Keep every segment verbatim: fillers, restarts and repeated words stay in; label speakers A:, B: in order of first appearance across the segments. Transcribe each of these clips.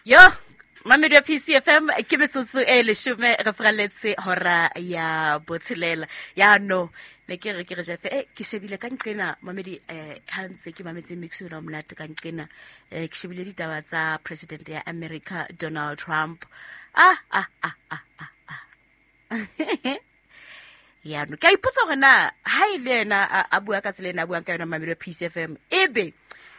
A: Yo, mamedi wa P C F M ke metsotso e leshome re fraletse hora ya botshelela. Ya no, ne ke re ke re Jeff, eh ke shebile ka nqena mamedi eh ha ntse ke mametse mix yona monate ka nqena, eh ke shebile ditaba tsa president ya America Donald Trump. Ah ah ah ah ah ah. Ya no, ke a ipotsa hore na ha e le yena a, a bua ka tsela ena a buang ka yona mamedi wa P C F M, ebe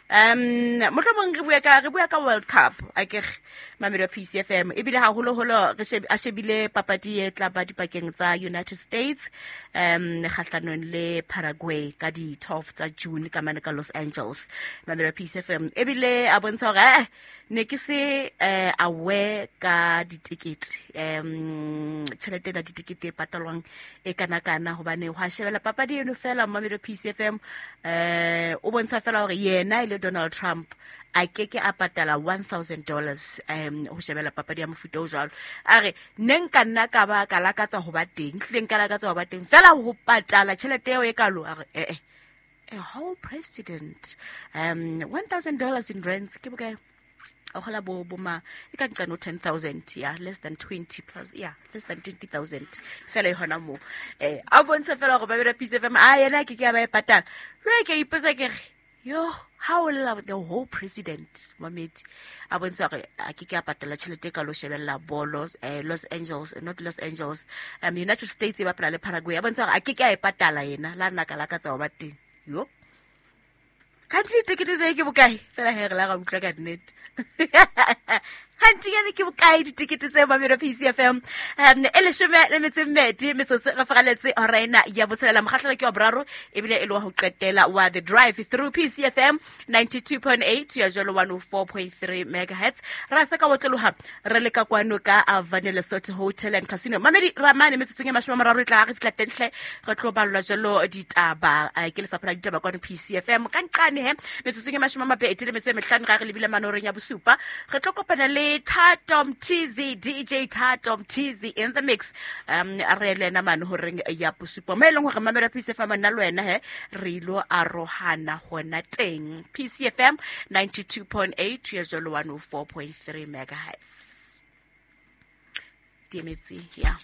A: um mohlomong re bua ka, re bua ka World Cup akere mamedi wa P C F M, ebile haholoholo re sheb-, a shebile papadi e tla ba dipakeng tsa United States um kgahlanong le Paraguay ka di twelve tsa June ka mane ka Los Angeles. Mamedi wa P C F M ebile a bontsha hore, eh, ne ke se, eh, aware ka ditikete, um tjhelete ena ditikete e patalwang e kana-kana, hobane hwa shebella papadi eno fela mamedi wa P C F M, eh, o bontsha fela hore yena e le Donald Trump a ke ke a patala one thousand dollars, um, ho shebella papadi ya mofuta o jwalo. A re, ne nka nna ka ba ka lakatsa ho ba teng, hlile nka lakatsa ho ba teng, fela ho patala tjhelete eo e kalo, a re, eh, eh, a whole president, um, one thousand dollars in rents, ke bokae? O kgola bo, bo ma, e ka nqane ho ten thousand, yeah, less than twenty plus, yeah, less than twenty thousand. Fela e hona moo. Eh, a bontsha fela hore ba bera P C F M, a yena ke ke a ba e patala. Jwale ke a ipotsa ke re, yo, ha o lla the whole president, mamedi, a bontsha hore a ke ke a patala tjhelete e kalo shebella bolo, eh, Los Angeles, not Los Angeles, um, United States e bapala le Paraguay. A bontsha hore a ke ke a e patala yena, la nna ka lakatsa ho ba teng. Yo. Khanti ditekete tse ke bokae? Fela he re la ra utlwa ka nnete. Khanti yane ke bokae ditekete tse mamedi wa P C F M? Um, e leshome le metso e mmedi, metsotso re faraletse hora ena ya botshelela. Mokgahlelo ke wa boraro, ebile e le wa ho qetela wa The Drive through P C F M ninety-two point eight ya jwalo one oh four point three megahertz. Ra se ka otloloha re le ka kwano ka Avane Lesotho Hotel and Casino. Mamedi Ramane metsotsong e mashome a mararo e tla re fihla teng hle, re tlo ballwa jwalo ditaba, eh, ke lefapha la ditaba kwano P C F M. Ka nqane he, metsotsong e mashome a mabedi le metso e mehlano ra re lebile manoreng ya bosupa, re tlo kopana le Thato Mthizi, D J Thato Mthizi in the mix. Um, re le ena mane horeng ya bosupa. Mo e leng hore mamela P C F M nna le wena he, re ilo arohana hona teng. P C F M ninety-two point eight ya jwalo one oh four point three megahertz. Di emetse, ya.